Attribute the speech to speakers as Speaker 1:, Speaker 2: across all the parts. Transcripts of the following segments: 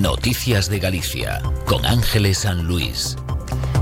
Speaker 1: Noticias de Galicia, con Ángeles San Luis.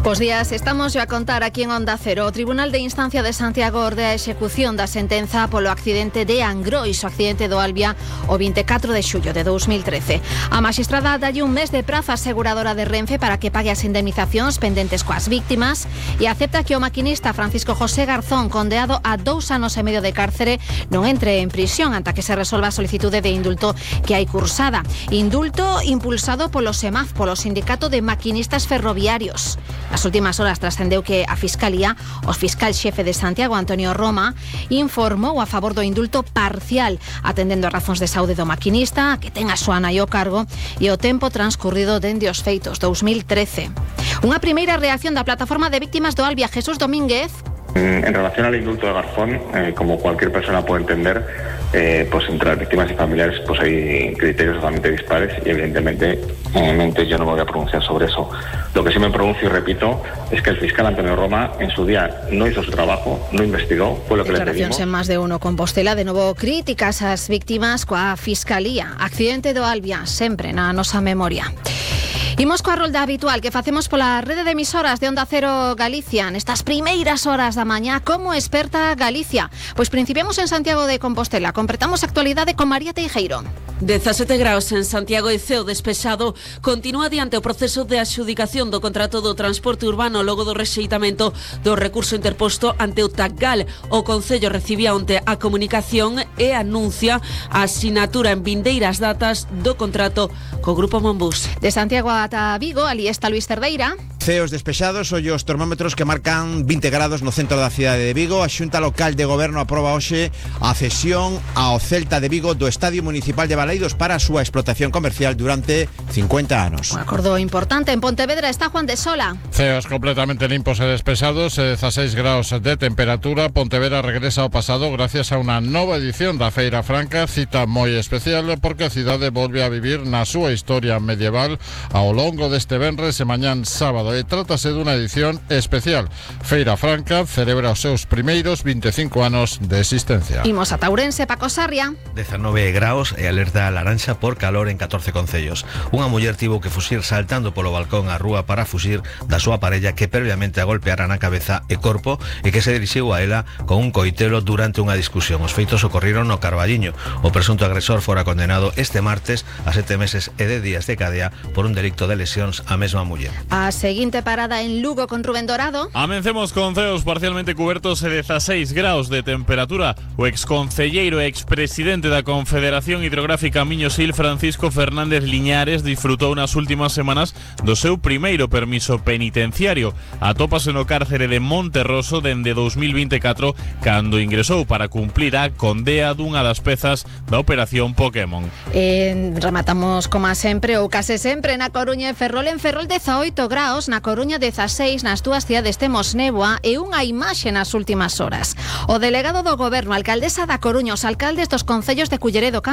Speaker 2: Bos días, estamos a contar aquí en Onda Cero. O Tribunal de Instancia de Santiago ordea a execución da sentenza polo accidente de Angrois, o accidente do Albia, o 24 de xullo de 2013. A magistrada dalle un mes de prazo á aseguradora de Renfe para que pague as indemnizacións pendentes coas víctimas e acepta que o maquinista Francisco José Garzón, condeado a 2 anos e medio de cárcere, non entre en prisión anta que se resolva a solicitude de indulto que hai cursada. Indulto impulsado polo SEMAF, polo Sindicato de Maquinistas Ferroviarios. Nas últimas horas trascendeu que a Fiscalía, o fiscal xefe de Santiago, Antonio Roma, informou a favor do indulto parcial, atendendo a razóns de saúde do maquinista, que ten a súa nai ao cargo, e o tempo transcurrido dende os feitos, 2013. Unha primeira reacción da plataforma de víctimas do Albia, Jesús Domínguez.
Speaker 3: En relación al indulto de Garzón, como cualquier persona puede entender, pues entre las víctimas y familiares pues hay criterios totalmente dispares y evidentemente yo no me voy a pronunciar sobre eso. Lo que sí me pronuncio y repito es que el fiscal Antonio Roma en su día no hizo su trabajo, no investigó, fue lo que le pedimos.
Speaker 2: Declaracións en Más de Uno Compostela, de novo críticas ás víctimas coa Fiscalía. Accidente do Albia, sempre na nosa memoria. Imos coa rolda habitual que facemos pola rede de emisoras de Onda Cero Galicia nestas primeiras horas da mañá. Como experta Galicia? Pois principiamos en Santiago de Compostela. Completamos a actualidade con María Teijeiro.
Speaker 4: 17 graus en Santiago e ceo despexado. Continúa adiante o proceso de adxudicación do contrato do transporte urbano logo do rexeitamento do recurso interposto ante o TACGAL. O Concello recibía onte a comunicación e anuncia a asinatura en vindeiras datas do contrato co Grupo Monbús.
Speaker 2: De Santiago ata Vigo, ali está Luis Cerdeira.
Speaker 5: Ceos despexados, ollos termómetros que marcan 20 grados no centro da cidade de Vigo. A Xunta Local de Goberno aproba hoxe a cesión ao Celta de Vigo do Estadio Municipal de Baleidos para a súa explotación comercial durante 50 anos.
Speaker 2: Un acordo importante. En Pontevedra está Juan de Sola.
Speaker 6: Ceos completamente limpos e despexados, 16 graus de temperatura. Pontevedra regresa ao pasado gracias a unha nova edición da Feira Franca, cita moi especial porque a cidade volve a vivir na súa historia medieval ao longo deste venres e mañán sábado. Trátase dunha edición especial. Feira Franca celebra os seus primeiros 25 anos de existencia.
Speaker 2: Imos a Ourense, Paco Sarria.
Speaker 7: 19 graus e alerta laranxa por calor en 14 concellos. Unha muller tivo que fuxir saltando polo balcón á rúa para fuxir da súa parella que previamente a golpeara na cabeza e corpo e que se dirixiu a ela con un coitelo durante unha discusión. Os feitos ocorriron no Carballiño. O presunto agresor fora condenado este martes a 7 meses e 10 días de cadea por un delito de lesións á mesma muller.
Speaker 2: A seguinte parada en Lugo con Rubén Dorado.
Speaker 8: Amencemos con ceos parcialmente cubertos e 16 graus de temperatura. O exconcelleiro e expresidente da Confederación Hidrográfica Miño-Sil, Francisco Fernández Liñares, disfrutou nas últimas semanas do seu primeiro permiso penitenciario. Atópase no cárcere de Monterroso dende 2024, cando ingresou para cumplir a condea dunha das pezas da operación Pokémon.
Speaker 2: Rematamos como sempre ou case sempre na Coruña e Ferrol. En Ferrol 18 graus, na Coruña 16, nas dúas cidades temos néboa e unha imaxe nas últimas horas. O delegado do Goberno, a alcaldesa da Coruña, os alcaldes dos concellos de Culleredo, Cambre